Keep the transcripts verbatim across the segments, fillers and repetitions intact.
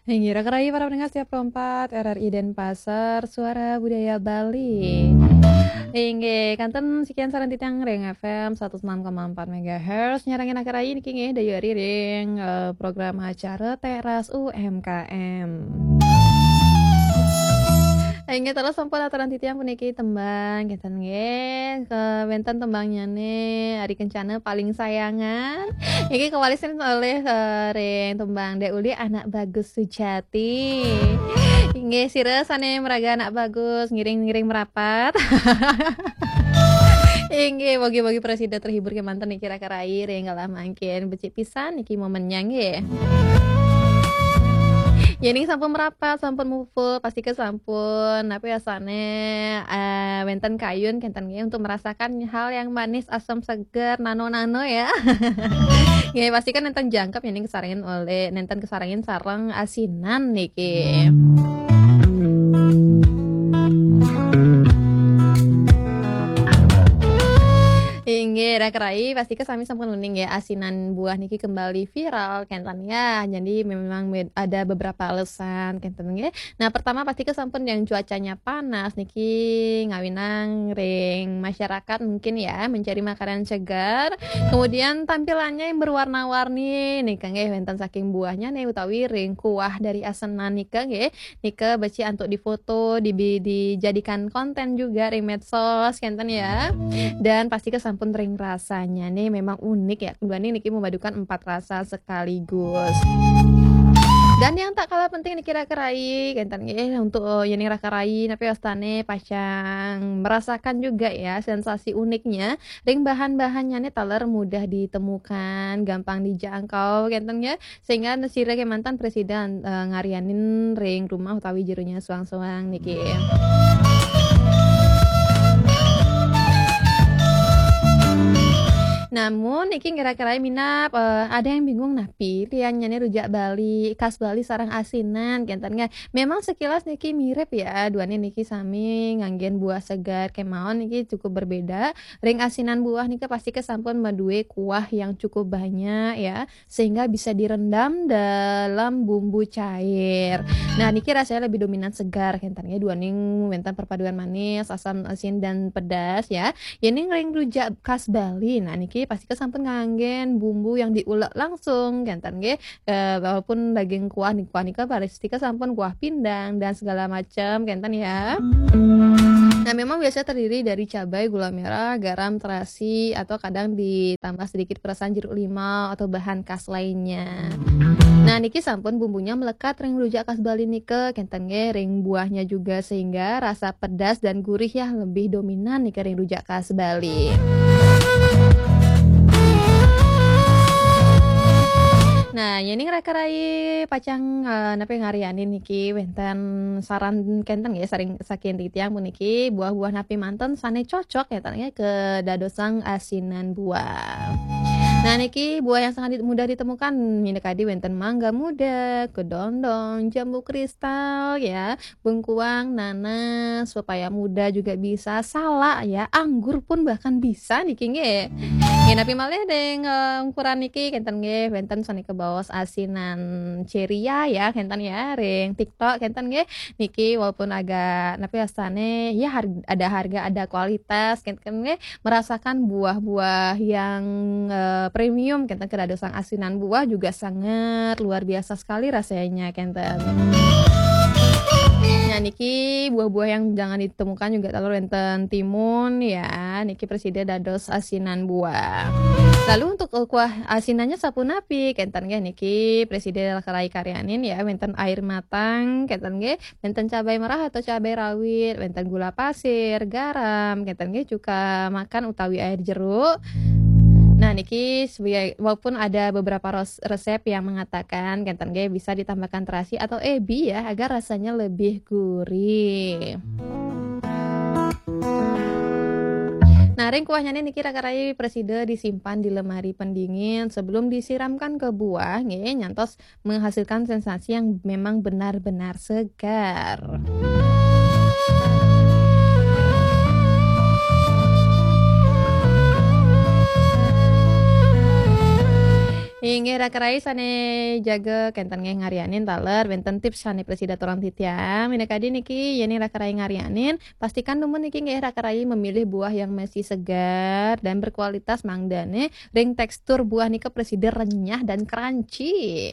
Inggih, raka rayi para pendengar setia Pro empat R R I Denpasar, Suara Budaya Bali. Inggih, kanten sekian sareng titiang ring F M seratus enam koma empat megahertz. Nyarengin raka rayi niki nggih, dayu ari ring, eh, program acara Teras U M K M. Inggih, terus sampun aturan titiang puniki tembang, kinten nggih, ke wenten tembangnyane Ari Kencana Paling Sayangan. Niki kawalisin olih, eh, ring tembang Dek Uli Anak Bagus Sujati. Inggih, sira sane maraga Anak Bagus, ngiring-ngiring merapat. Inggih, mogi-mogi prasida terhibur kemanten niki raka rayi ring galah mangkin. Becik pisan niki momennya nggih. Yening sampun merapat, sampun mupul, pastika sampun, napi asane, eh, wenten kayun kenten nggih untuk merasakan hal yang manis, asam, seger, nano-nano ya. Nggih, pastika nenten jangkep yening kesarengin olih, nenten kesarengin sareng asinan niki. Inggih, raka rayi, pastika sami sampun uning ya, asinan buah niki kembali viral, kenten ya. Jadi memang med-, ada beberapa alasan, kenten nggih. Nah, pertama pastika sampun yang cuacanya panas niki ngawinang ring masyarakat mungkin ya, mencari makanan segar. Kemudian tampilannya yang berwarna-warni nika nggih, wenten saking buahnya nih utawi ring kuah dari asenan nika nggih. Nika becik antuk difoto, dibi-, dijadikan konten juga ring medsos, kenten ya. Dan pastika sampun ring rasanya nih memang unik ya. Duaning niki memadukan empat rasa sekaligus. Dan yang tak kalah penting niki raka rayi, kenten nggih, untuk, eh, yening raka rayi, napi wastane pacang merasakan juga ya sensasi uniknya. Ring bahan-bahannya nih taler mudah ditemukan, gampang dijangkau, kenten ya. Sehingga sira kemanten prasida, eh, ngarianin ring rumah utawi jeronya suang-suang niki. Namun niki kira-kira minab, eh, ada yang bingung napi liannyane rujak Bali, khas Bali sareng asinan, kenten nggih. Memang sekilas niki mirip ya, duane niki sami nganggen buah segar kemawon niki cukup berbeda. Ring asinan buah nika pastika sampun madue kuah yang cukup banyak ya, sehingga bisa direndam dalam bumbu cair. Nah, niki rasanya lebih dominan segar, kenten nggih, duaning wenten perpaduan manis, asam, asin, dan pedas ya. Yening ring rujak khas Bali, nah niki pastika sampun nganggen bumbu yang diulek langsung, kenten nggih. Eh, walaupun daging kuah nih, kuah nika pastika sampun kuah pindang dan segala macam, kenten ya. Nah, memang biasa terdiri dari cabai, gula merah, garam, terasi, atau kadang ditambah sedikit perasan jeruk limau atau bahan khas lainnya. Nah, niki sampun bumbunya melekat ring rujak khas Bali nika, kenten nggih, ring buahnya juga, sehingga rasa pedas dan gurih ya lebih dominan nika ring rujak khas Bali. Nah, yening raka rayi pacang, eh, napi ngarianin niki wenten saran kenten nggih, saring saking titiang puniki, buah-buah napi manten sane cocok kenten nggih kedadosang asinan buah. Nah, niki buah yang sangat di-, mudah ditemukan, minakadi wenten mangga muda, kedondong, jambu kristal ya, bengkuang, nanas, pepaya muda juga bisa, salak ya, anggur pun bahkan bisa niki nggih. Nggih, napi malih ring, eh, ukuran niki kenten nggih, wenten sane kebaos asinan ceria ya, kenten ya, ring TikTok kenten nggih. Niki walaupun agak napi wastane ya har-, ada harga, ada kualitas kenten nggih, merasakan buah-buah yang, eh, premium kenten, kedadosang asinan buah juga sangat luar biasa sekali rasanya kenten. Nah, niki buah-buah yang jangan ditemukan juga taler wenten timun ya. Niki prasida dados asinan buah. Lalu untuk, eh, kuah asinannya sapunapi? Kenten nggih niki prasida raka rayi karyanin ya, wenten air matang, kenten nggih, wenten cabai merah atau cabai rawit, wenten gula pasir, garam, kenten nggih, cuka makan utawi air jeruk. Nah, niki sebagai, walaupun ada beberapa ros-, resep yang mengatakan kenten nggih bisa ditambahkan terasi atau ebi ya, agar rasanya lebih gurih. Nah, ring kuahnya niki raka rayi prasida disimpan di lemari pendingin sebelum disiramkan ke buah nggih, nyantos menghasilkan sensasi yang memang benar-benar segar. Inggih raka rai sané jaga kénten nggih ngarianin taler wénten tips sané prasida aturang titiang. Minakadi niki yén raka rai ngarianin, pastikan dumun niki nggih raka rai memilih buah yang masih segar dan berkualitas mangdané ring tekstur buah nika prasida renyah dan crunchy.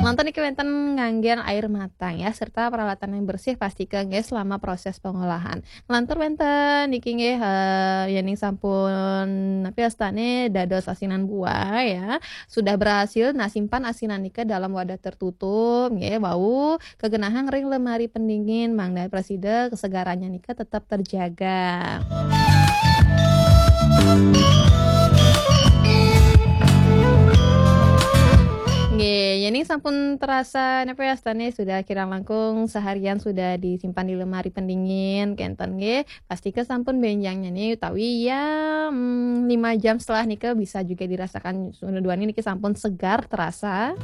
Lantur niki wénten nganggén air matang ya serta peralatan yang bersih pastikan nggih selama proses pengolahan. Lantur wénten niki nggih eh, yéning sampun napi wastané dados asinan buah ya. Sudah berhasil nah simpan asinan nika dalam wadah tertutup nggih wau kegenahang ring lemari pendingin mangda prasida kesegarannya nika tetap terjaga. Nggih, yéning sampun terasa napi wastané sudah kirang langkung seharian sudah disimpan di lemari pendingin, kénten nggih. Pastika sampun bénjang nyenik utawi ya mm, lima jam setelah nika bisa juga dirasakan duaning niki sampun segar terasa.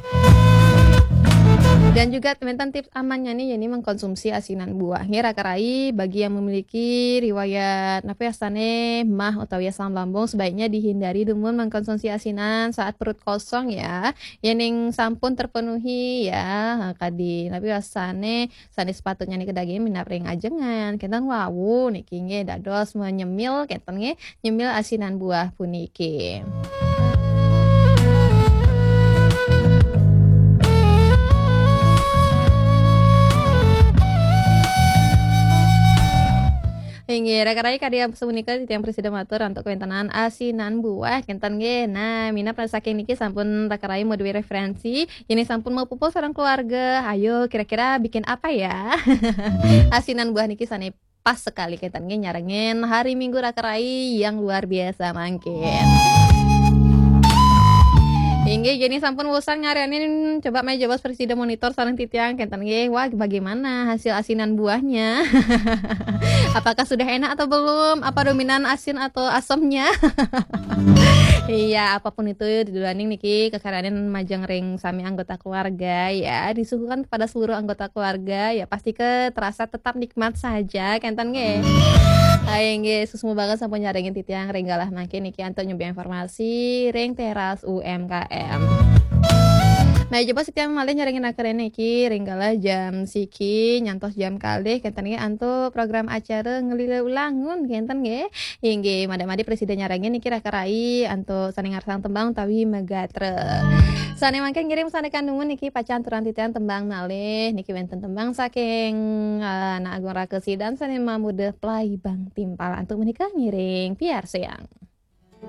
Dan juga wénten tips amannya nih, yaitu mengkonsumsi asinan buah. Nggih, raka rai bagi yang memiliki riwayat napi wastané mah utawi asam lambung, sebaiknya dihindari dumun mengkonsumsi asinan saat perut kosong ya. Yéning sampun terpenuhi ya, kadi napi wastané sané sepatutnya nika daging minab ring ajengan. Kénten wau niki nggih dados menyemil kénten nggih nyemil asinan buah puniki. Inggih, raka rai kadi sapunika titiang prasida matur antuk kawéntenan asinan buah kénten nggih. Nah, minab saking niki sampun raka rai madué referensi, yén sampun mapupuh sareng keluarga, ayo kira-kira bikin apa ya? Asinan buah niki sané pas sekali kénten nggih nyarengin hari Minggu raka rai yang luar biasa mangkin. Inggih, yén sampun wusan ngarianin coba mai jebos prasida monitor sareng titiang kénten nggih. Wah, bagaimana hasil asinan buahnya? Apakah sudah enak atau belum? Apa dominan asin atau asemnya? Iya, apapun itu duaning niki kekarianin majeng ring sami anggota keluarga ya, disuguhkan kepada seluruh anggota keluarga ya, pasti ke terasa tetap nikmat saja kénten nggih. Hai nggih, suksma banget sampun nyarengin titiang ring galah mangkin niki antuk nyubi informasi ring teras U M K M. Nah, coba setiap malih nyarengin acara niki ring galah jam siki nyantos jam kalih kénten nggih antuk program acara Ngelila Ulangun kénten nggih. Inggih, madak-madik prasida nyarengin niki raka rai antuk sané ngarsang tembang utawi magatra. Sané mangkin ngiring sané kandungan niki pacang aturang titiang tembang malih. Niki wénten tembang saking eh, Anak Agung Rakesi dan sané mamuda Plaibang Timpal. Antuk menika ngiring piarsayang.